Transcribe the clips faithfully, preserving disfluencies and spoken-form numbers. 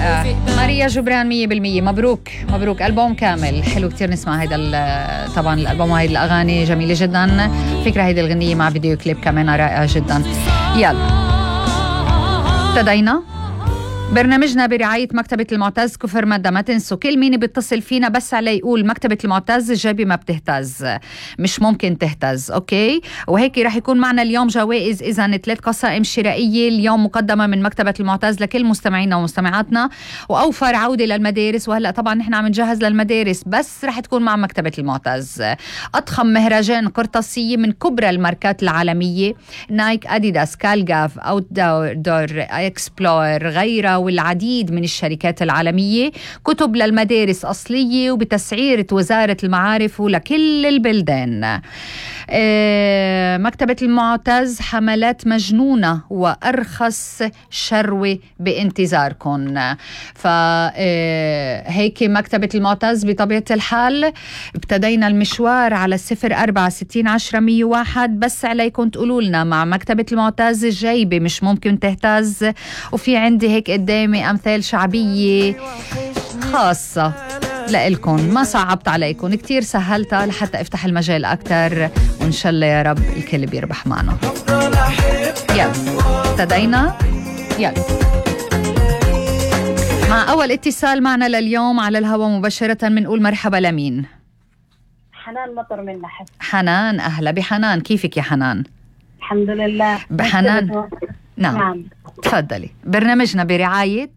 رائع. ماريا جبران مية بالمية. مبروك مبروك، ألبوم كامل حلو كتير. نسمع هيدا طبعا الألبوم وهيدا الأغاني جميلة جدا. فكرة هيدا الغنية مع فيديو كليب كمان رائع جدا. يلا ابتدينا برنامجنا برعاية مكتبة المعتز كفر مادة. ما تنسوا كل مين بيتصل فينا بس على يقول مكتبة المعتز الجيبة ما بتهتز، مش ممكن تهتز. أوكي، وهيك رح يكون معنا اليوم جوائز. إذا ثلاث قصائم شرائية اليوم مقدمة من مكتبة المعتز لكل مستمعينا ومستمعاتنا، وأوفر عودة للمدارس. وهلأ طبعا نحن عم نجهز للمدارس بس رح تكون مع مكتبة المعتز. أضخم مهرجان قرطاسية من كبرى الماركات العالمية، نايك، أديداس، كالجاف، أوت دور، إكسبلور، غيرها والعديد من الشركات العالمية. كتب للمدارس أصلية وبتسعيرة وزارة المعارف ولكل البلدان. آه مكتبة المعتز حملات مجنونة وأرخص شروة بانتظاركم. فهيك مكتبة المعتز بطبيعة الحال ابتدينا المشوار على الصفر أربعة ستين عشرة مية واحد. بس عليكم تقولوا لنا مع مكتبة المعتز الجيبة مش ممكن تهتز. وفي عندي هيك قدامي أمثال شعبية خاصة لإلكم، ما صعبت عليكم كتير، سهلتها لحتى افتح المجال أكتر، وإن شاء الله يا رب الكل بيربح معنا. يلا ابتدينا. يلا مع أول اتصال معنا لليوم على الهواء مباشرة بنقول مرحبا لمين؟ حنان مطر من نحس. حنان، أهلا بحنان. كيفك يا حنان؟ الحمد لله. بحنان نعم. نعم تفضلي. برنامجنا برعاية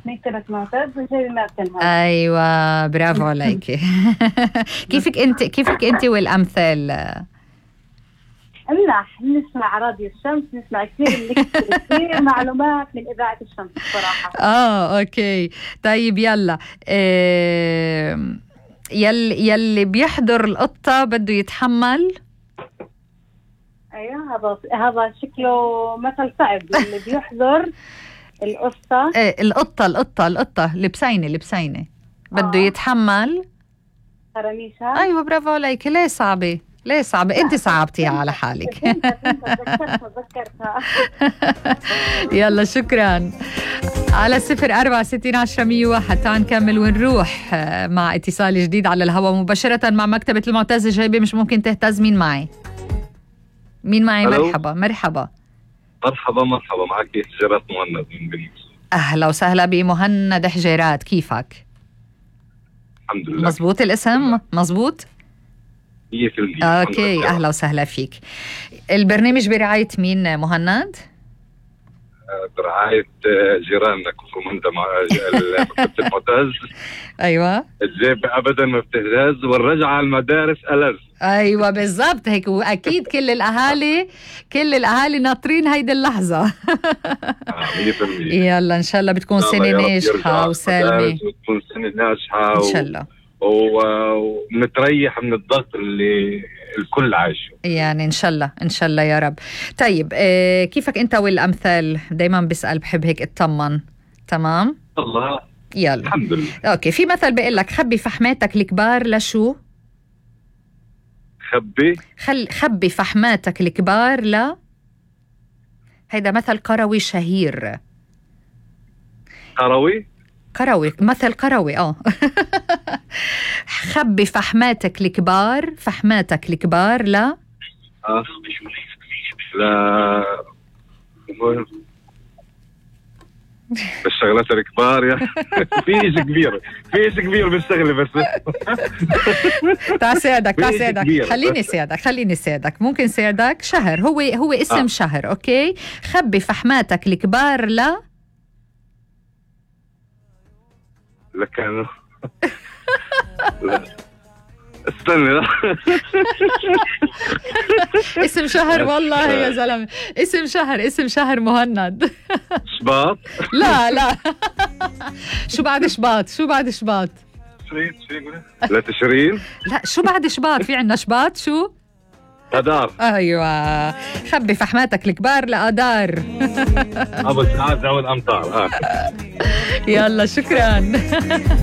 مكتبة معتز وجيبة ما بتنهز. أيوة برافو عليك. كيفك أنت كيفك أنت والأمثال؟ منح نسمع راديو الشمس، نسمع كثير كثير معلومات من إذاعة الشمس بصراحة. آه أوكي طيب يلا. إيه يلي يلي بيحضر القطة بده يتحمل. ايوه هذا هذا شكله مثل صعب. اللي بيحضر القطة إيه القطة القطة القطة لبسينة لبسينة بده آه. يتحمل خرميشها. أيوة برافو عليك. ليه صعبة؟ ليه صعبة؟ أنت صعبتيها على حالك. تذكرتها. يلا شكرا. على صفر أربعة ستين عشرة مية واحد. تعال نكمل ونروح مع اتصال جديد على الهواء مباشرة مع مكتبة المعتز الجيبة مش ممكن تهتز. مين معي؟ مين معي؟ ألو. مرحبا مرحبا مرحبا مرحبا معك حجيرات مهند من بنيس. أهلا وسهلا بمهند حجيرات. كيفك؟ الحمد لله. مزبوط الاسم؟ مزبوط؟ مية بالمية. أوكي أهلا وسهلا فيك. البرنامج برعاية مين مهند؟ برعاية جيراننا كفر مندة مع مكتبة المعتز. أيوة الجيبة أبدا ما بتهتز والرجعة على المدارس ألذ. أيوة بالضبط هيك. وأكيد كل الأهالي كل الأهالي ناطرين هيدي اللحظة. مية بالمية. يلا إن شاء الله بتكون سنة ناجحة وسالمة. بتكون سنة ناجحة إن شاء الله. ونتريح من الضغط اللي الكل عايشه يعني إن شاء الله إن شاء الله يا رب. طيب إيه كيفك أنت والأمثال؟ دايما بسأل بحب هيك اطمن. تمام الله. يلا الحمد لله. أوكي. في مثل بيقول لك خبي فحماتك الكبار لشو؟ خبي خل خبي فحماتك الكبار لا. هيدا مثل قروي شهير. قروي قروي مثل قروي اه. خبي فحماتك الكبار فحماتك الكبار لا. آه. لا بالشغلات الكبار يا في شيء كبير في شيء كبير بالشغله بس. تعال ساعدك تعال ساعدك خليني ساعدك خليني ساعدك ممكن ساعدك. شهر هو هو اسم آه. شهر. اوكي. خبي فحماتك الكبار لا. لكن لا استنى لا. اسم شهر والله يا زلمه. اسم شهر اسم شهر مهند. شباط. لا لا. شو بعد شباط؟ شو بعد شباط؟ تشرين تشرين لا تشرين. لا شو بعد شباط؟ في عنا شباط. شو؟ أدار. أيوة. خبي فحماتك الكبار لأدار. أبو سعاد أو الأمطار. آه. يلا شكرا.